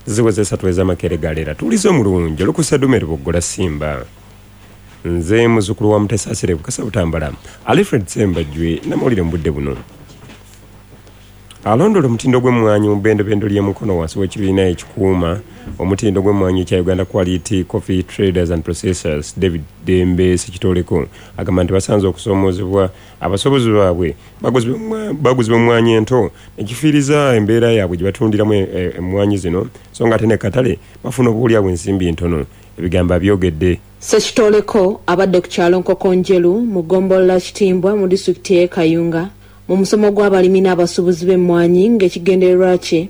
Ziweze 3 ez'amakeere galeera. Tuwulize omulungi olukusa Dumeri Boggola Simba. Nze muzzukulu wa Mutesaasira Bukasa Butambala, Alfred Ssembajjwe namawulire mu budde buno. Alondola omutindo gw'emmwanyi mu bbendobendo ly'e Mukono wansi w'ekibiina ekikuuma omutindo gw'emmwanyi ekya Uganda Quality Coffee Traders and Processors, David Dembe Ssekitoleko agamba nti basanze okusoomoozebwa abasuubuzi baabwe baguzibwa emmwanyi ento nekifiiriza embeera yaabwe gye batundiramu emmwanyi zino, so nga ate ne katale bafuna obuwulya bw'ensimbi ntono. Ebigambo abyogedde. Ssekitoleko abadde ku kyalo Nkokonjeru mu ggombolola Kitimbwa mu disitulikiti y'e Kayunga mu musomo gw'abalimi n'abasuubuzi b'emmwanyi ng'ekigendererwa kye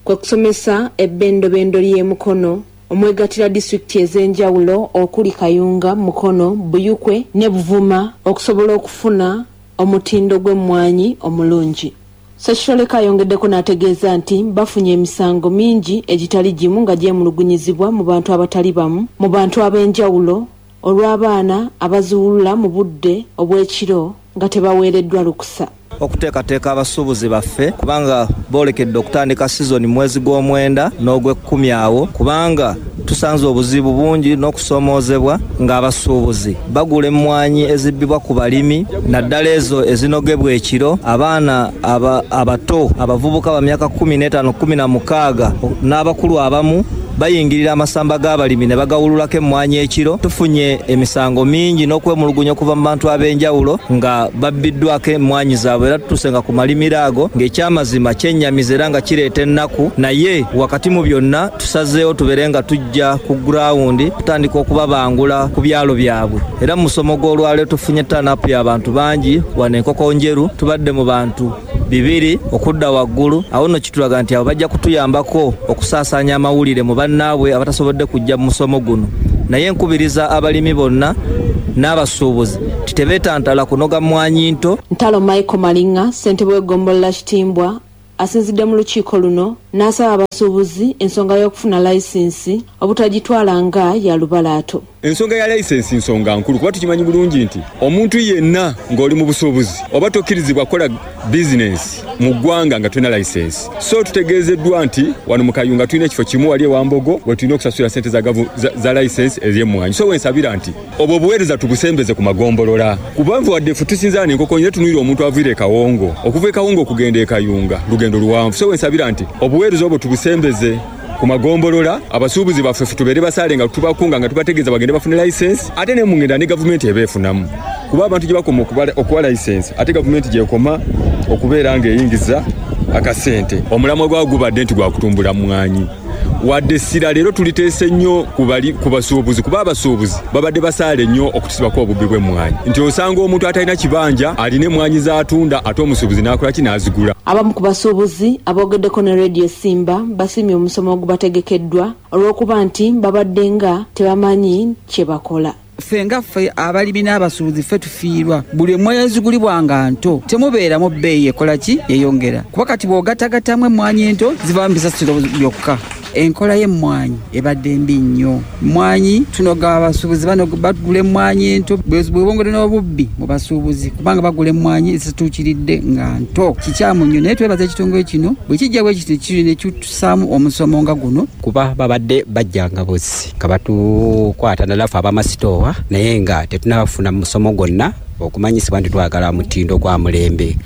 kwe kusomesa ebbendobendo ly'e Mukono omwegattira disitulikiti ez'enjawulo okuli Kayunga, Mukono, Buyukwe ne Buvuma okusobola okufuna omutindo gw'emmwanyi omulungi. Ssekitoleko ayongeddeko n'ategeeza nti bafunye emisango mingi egitali gimu nga gyemulugunyizibwa mu bantu abatali bamu mu bantu ab'enjawulo olw'abaana abaziwulula mu budde obw'ekiro nga tebaweereddwa lukusa. Okuteekateeka abasuubuzi baffe kubanga boolekedde okutandika sizoni mwezi gw'omwenda n'ogw'ekkumi awo, kubanga tusanze obuzibu bungi n'okusoomoozebwa ng'abasuubuzi bagula emmwanyi ezibbibwa ku balimi naddala ezo ezinogebwa ekiro. Abaana abato abavubuka ba myaka 15, 16 n'abakulu abamu bayingirira amasamba g'abalimi ne bagawululako emmwanyi ekiro. Tufunye emisango mingi n'okwemulugunya okuva mu bantu ab'enjawulo nga babbiddwako emmwanyi zaabwe, era tutuuse nga ku malimiro ago ng'ekyamazima kyennyamiza era nga kireeta ennaku. Naye wakati mu byonna tusazeewo tubeere nga tujja ku gurawundi kutandika okubabangula ku byalo byabwe, era mu musomo gw'olwaleero tufunye turn-up y'abantu bangi wano Enkokonjeru, tubadde mu bantu 2 okudda waggulu. Awo nno kitulaga nti abo bajja kutuyambako okusaasaanya amawulire mu bannaabwe abatasobodde kujja mu musomo guno. Naye nkubiriza abalimi bonna n'abasuubuzi nti tebeetantala kunoga mmwanyi nto. Ntalo Michael Malinga, ssentebe w'eggombolola Kitimbwa, asinzidde mu lukiiko luno n'asaba abasuubuzi ensonga y'okufuna layisinsi obutagitwala nga ya lubalaato. Ensonga ya layisinsi nsonga nkulu kuba tukimanyi bulungi nti omuntu yenna ng'oli mu busuubuzi oba tokkirizibwa kukola bizinensi mu ggwanga nga tolina layisinsi. So tutegeezeddwa nti wano mu Kayunga tulina ekifo kimu wali ewa Mbogo we tulina okusasula ssente za layisinsi ez'emmwanyi. So wensabira nti obwo obuweereza tubusembeze ku magombolola, kubanga wadde ffe tusinzaana enkoko nyine tunuulira omuntu aviire e Kawongo, okuva e Kawongo okugenda e Kayunga lugendo luwanvu. So wensabira nti obuweereza obwo tubusembeze ku magombolola, abasuubuzi baffe ffe tubeere basaale nga tubakunga nga tubategeeza bagende bafune layisensi, ate ne mu ngenda ne gavumenti eba efunamu, kuba abantu gye bakoma okuwa layisensi ate gavumenti gy'ekoma okubeera ng'eyingiza akasente. Omulamwa gwawo gubadde nti gwa kutumbula mmwanyi, wadde essira leero tuliteese nnyo ku basuubuzi, kuba abasuubuzi babadde basaale nnyo okutusibako obubbi bw'emmwanyi, nti osanga omuntu atalina kibanja alina emmwanyi z'atunda ate omusuubuzi n'akola ki n'azigula. Abamu ku basuubuzi aboogeddeko ne Radio Simba basiimye omusomo ogubategekeddwa olw'okuba nti babadde nga tebamanyi kye bakola. Ffe nga ffe abalimi n'abasuubuzi ffe tufiirwa, buli emmwanyi ezigulibwa nga nto temubeeramu bbeeyi ekola ki yeyongera, kuba kati bw'ogattagattamu emmwanyi ento zivaamu bisasiro byokka. Enkola y'emmwanyi ebadde mbi nnyo. Mmwanyi tunoga abasuubuzi bano bagula emmwanyi ento, bwe bongedde n'obubbi mu basuubuzi kubanga bagula emmwanyi ezituukiridde nga nto. Kikyamu nnyo, naye twebaza ekitongole kino bwe kijja bwe kiti ne kitusaamu omusomo nga guno. Kuba babadde bajjanga buzzi nga batukwata naddala ffe abamasitoowa, naye nga tetunnabafuna musomo gwonna okumanyisibwa nti twagala mutindo gwa mulembe.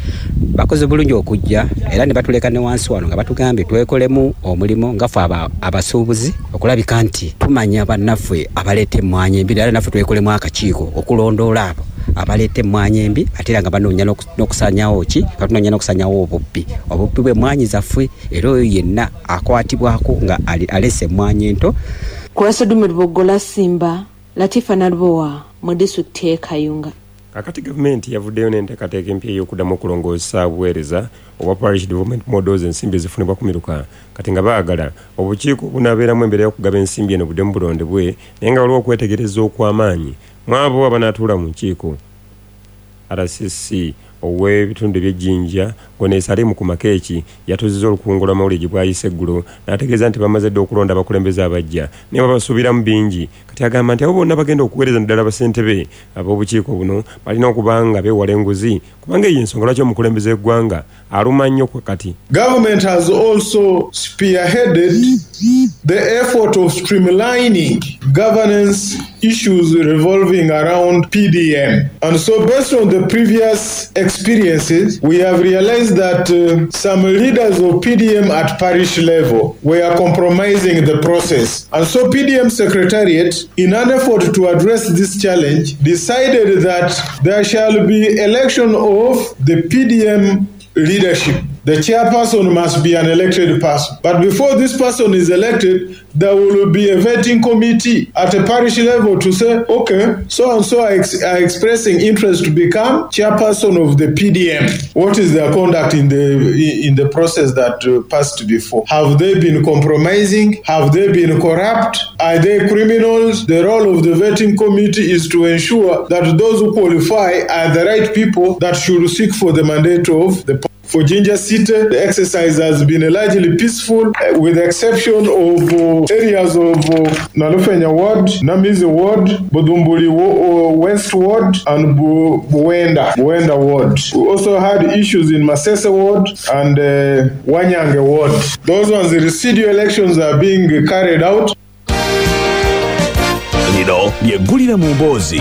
Bakoze bulungi okujja era ne batuleka ne wansi wano nga batugambye twekolemu omulimu nga ffe abasuubuzi okulabika nti tumanya bannaffe abaleeta emmwanyi embi, era naffe twekolemu akakiiko okulondoola abo abaleeta emmwanyi embi, ate era nga banoonya n'okusaanyaawo ki, nga tunoonya n'okusaanyaawo obubbi bw'emmwanyi zaffe, era oyo yenna akwatibwako nga aleese emmwanyi ento. Ku Lwasedume Luboggola Simba, Latifa Nalubowa mu disitulikiti y'e Kayunga. Kakati gavumenti yavuddeyo n'enteekateeka empya ey'okuddamu okulongoosa obuweereza obwa Parish Development Models, ensimbi ezifunibwa ku miruka, kati nga baagala obukiiko obunaabeeramu embeera y'okugaba ensimbi eno buddemu bulondebwe, naye nga waliwo okwetegereza okw'amaanyi mu abo abanaatuula mu nkiiko. RCC ow'ebitundu eby'Ejjinja Gonesi Alimu ku Makeeki yatuuzizza olukungo lw'amawulire gye bwayise eggulo n'ategeeza nti bamaze dda okulonda abakulembeze abaggya naye babasuubiramu bingi. Kati agamba nti abo bonna bagenda okuweereza naddala bassentebe ab'obukiiko buno balina okuba nga beewala enguzi kuba Kubanga eyo ensonga lwaki omukulembeze w'eggwanga aluma nnyo kati. Government has also spearheaded the effort of streamlining governance issues revolving around PDM. And so based on the previous experiences, we have realized that some leaders of PDM at parish level were compromising the process. And so PDM Secretariat, in an effort to address this challenge, decided that there shall be election of the PDM leadership. The chairperson must be an elected person. But before this person is elected, there will be a vetting committee at a parish level to say, okay, so and so are expressing interest to become chairperson of the PDM. What is their conduct in the process that passed before? Have they been compromising? Have they been corrupt? Are they criminals? The role of the vetting committee is to ensure that those who qualify are the right people that should seek for the mandate of the. For Jinja City, the exercise has been largely peaceful, with the exception of areas of Nalufenya Ward, Namizi Ward, Budumbuli West Ward, and Buwenda Ward. We also had issues in Masese Ward and Wanyange Ward. Those ones, the residual elections are being carried out. Lino lyeggulire mu mboozi.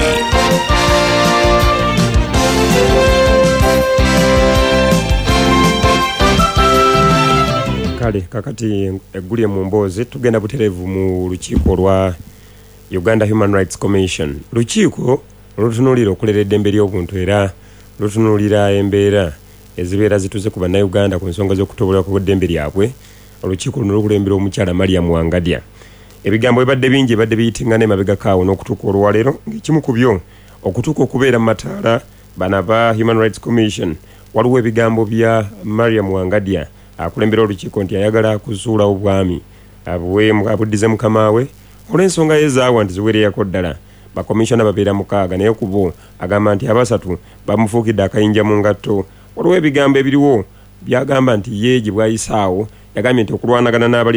Kale kakati eggulire mu mboozi tugenda butereevu mu lukiiko lwa Uganda Human Rights Commission. Lukiiko lutunuulira okulera eddembe ly'obuntu era lutunuulira embeera ezibeera zituze ku bannayuganda ku nsonga z'okutobolwa ku ddembe lyabwe. Olukiiko luno lukulembera omukyala Mariam Wangadya. Ebigambo bibadde bingi ebadde biyitingana emabegako awo n'okutuuka olwaleero, ng'ekimu ku byo okutuuka okubeera mu mataala bano aba Human Rights Commission. Waliwo ebigambo bya Mariam Wangadya akulembera olukiiko nti ayagala kuzuulawo bwami abuddize mukama we olw'ensonga yezaawa nti ziwereyako ddala. Bakomishona babeera 6 naye ku bo agamba nti abasatu bamufuukidde akayinja mu ngatto. Waliwo ebigambo ebiriwo byagamba nti ye gye bwayisaawo yagambye nti okulwanagana n'abali